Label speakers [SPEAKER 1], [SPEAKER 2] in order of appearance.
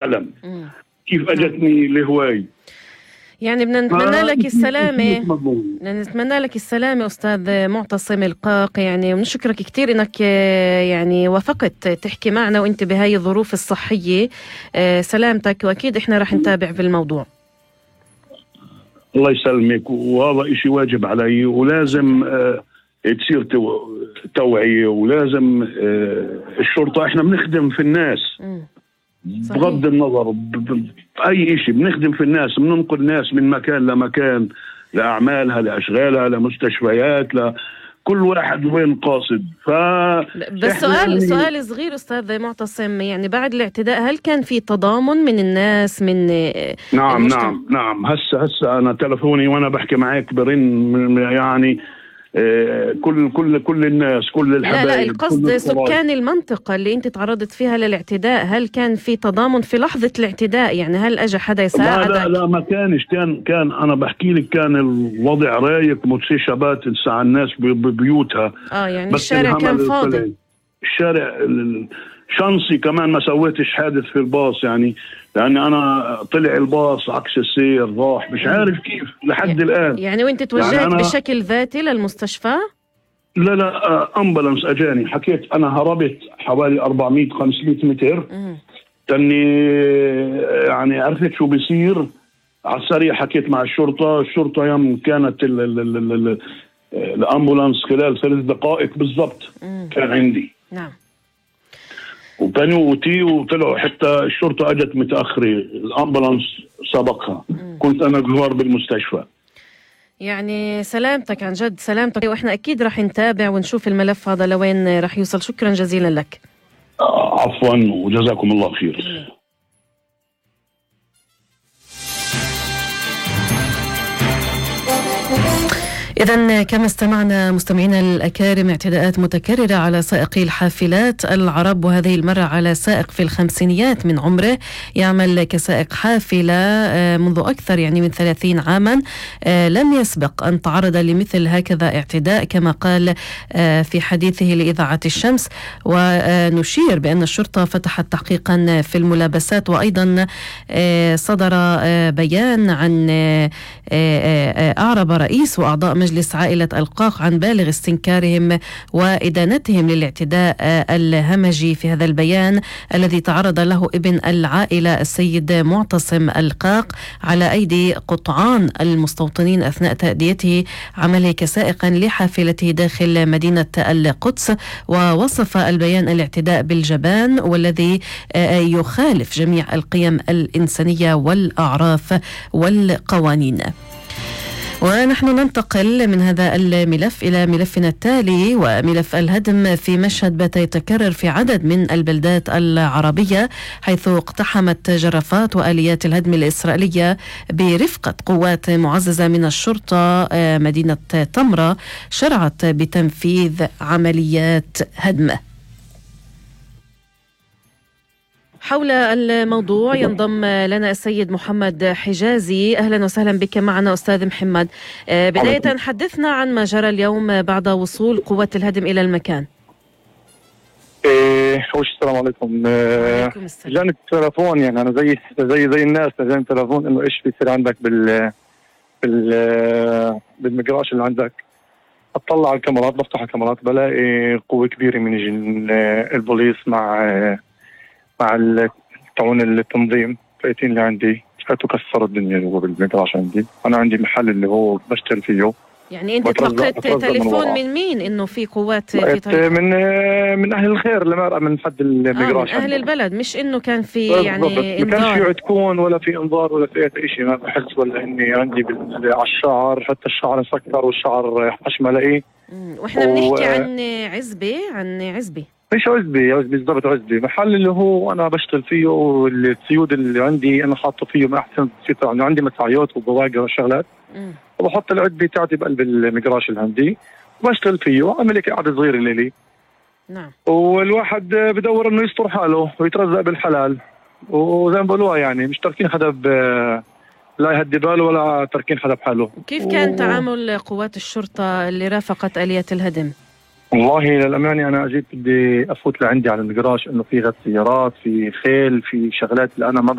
[SPEAKER 1] العالم، كيف اجتني لهواي.
[SPEAKER 2] يعني بدنا نتمنى لك السلامة، بدنا نتمنى لك السلامة أستاذ معتصم القاق، يعني ونشكرك كتير إنك يعني وافقت تحكي معنا وإنت بهاي الظروف الصحية. سلامتك، وأكيد إحنا رح نتابع في الموضوع.
[SPEAKER 1] الله يسلمك، وهذا إشي واجب علي، ولازم تصير توعية، ولازم الشرطة، إحنا بنخدم في الناس بغض النظر بأي إشي، بنخدم في الناس، بننقل ناس من مكان لمكان لأعمالها لأشغالها لمستشفيات كل واحد وين قاصد.
[SPEAKER 2] بس سؤال صغير أستاذ معتصم، يعني بعد الاعتداء هل كان في تضامن من الناس من
[SPEAKER 1] نعم. هسه أنا تلفوني وأنا بحكي معاك برن، يعني كل الناس، كل الحبايب.
[SPEAKER 2] لا القصد سكان المنطقة اللي انت تعرضت فيها للاعتداء، هل كان في تضامن في لحظة الاعتداء؟ يعني هل اجى حدا يساعدك؟
[SPEAKER 1] لا ما كانش، كان انا بحكي لك كان الوضع رايق، متسيشبات لسه الناس ببيوتها.
[SPEAKER 2] يعني الشارع كان فاضي.
[SPEAKER 1] الشارع شانسي كمان ما سويتش حادث في الباص، يعني لأني أنا طلع الباص عكس السير، راح مش عارف كيف لحد الآن.
[SPEAKER 2] يعني وانت توجهت يعني بشكل ذاتي للمستشفى؟
[SPEAKER 1] لا أمبولانس أجاني، حكيت أنا هربت حوالي 400-500 متر، تاني يعني عرفت شو بيصير على السريع، حكيت مع الشرطة يوم كانت الأمبولانس خلال 3 دقائق بالضبط كان عندي.
[SPEAKER 2] نعم.
[SPEAKER 1] وبنوتي وطلعوا، حتى الشرطة أجت متأخرة، الأمبولانس سبقها، كنت أنا جوار بالمستشفى.
[SPEAKER 2] يعني سلامتك، عن جد سلامتك، وإحنا أكيد رح نتابع ونشوف الملف هذا لوين رح يوصل. شكرا جزيلا لك.
[SPEAKER 1] عفوا وجزاكم الله خير.
[SPEAKER 2] إذن كما استمعنا مستمعينا الأكارم، اعتداءات متكررة على سائقي الحافلات العرب، وهذه المرة على سائق في الخمسينيات من عمره، يعمل كسائق حافلة منذ أكثر يعني من 30 عاما. لم يسبق أن تعرض لمثل هكذا اعتداء كما قال في حديثه لإذاعة الشمس. ونشير بأن الشرطة فتحت تحقيقا في الملابسات، وأيضا صدر بيان عن أعرب رئيس وأعضاء مجلس عائلة القاق عن بالغ استنكارهم وإدانتهم للاعتداء الهمجي في هذا البيان الذي تعرض له ابن العائلة السيد معتصم القاق على أيدي قطعان المستوطنين أثناء تأديته عمله كسائق لحافلته داخل مدينة القدس. ووصف البيان الاعتداء بالجبان والذي يخالف جميع القيم الإنسانية والأعراف والقوانين. ونحن ننتقل من هذا الملف إلى ملفنا التالي، وملف الهدم في مشهد بات يتكرر في عدد من البلدات العربية، حيث اقتحمت جرافات وآليات الهدم الإسرائيلية برفقة قوات معززة من الشرطة مدينة تمرة، شرعت بتنفيذ عمليات هدم. حول الموضوع ينضم لنا السيد محمد حجازي. أهلا وسهلا بك معنا أستاذ محمد. بداية حدثنا عن ما جرى اليوم بعد وصول قوات الهدم إلى المكان.
[SPEAKER 3] السلام عليكم. جاني التلفون، يعني أنا زي الناس، جاني التلفون إنه إيش بيصير عندك بالمجراش اللي عندك. أطلع على الكاميرات، بفتح الكاميرات بلاقي قوة كبيرة من البوليس مع تعون التنظيم فايتين اللي عندي، فاتوا كسروا الدنيا جوا بالمجراش عندي. انا عندي محل اللي هو بشتغل فيه.
[SPEAKER 2] يعني انت تلقيت تليفون من مين انه في قوات في طريق؟
[SPEAKER 3] من اهل الخير اللي مرق من حد المجراش،
[SPEAKER 2] اهل البلد، مش انه كان في يعني
[SPEAKER 3] انذار؟ ما كانش في عتكون ولا في انذار ولا في اي شيء. ما بحس ولا اني عندي على الشعر، حتى الشعر مسكر والشعر حشمه لاقيه.
[SPEAKER 2] واحنا بنحكي عن عزبه
[SPEAKER 3] مش عزبي بالضبط، عزبي محل اللي هو انا بشتغل فيه، والسيود اللي عندي انا حاطه فيه ما احسن سيطر، يعني عندي مساعيات وبواقر وشغلات، وبحط العدبي تاعتي بقلب المجراش اللي عندي وبشتغل فيه وعمل لك قعده صغيره لي.
[SPEAKER 2] نعم.
[SPEAKER 3] والواحد بدور انه يستر حاله ويترزق بالحلال، وزي ما بقولوها يعني مش تركين حدا لا يهدي باله ولا تركين حدا بحاله.
[SPEAKER 2] كيف كان تعامل قوات الشرطه اللي رافقت آلية الهدم؟
[SPEAKER 3] والله للأمانة أنا أجيت بدي أفوت لعندي على المقراش إنه في غد سيارات، في خيل، في شغلات اللي أنا ما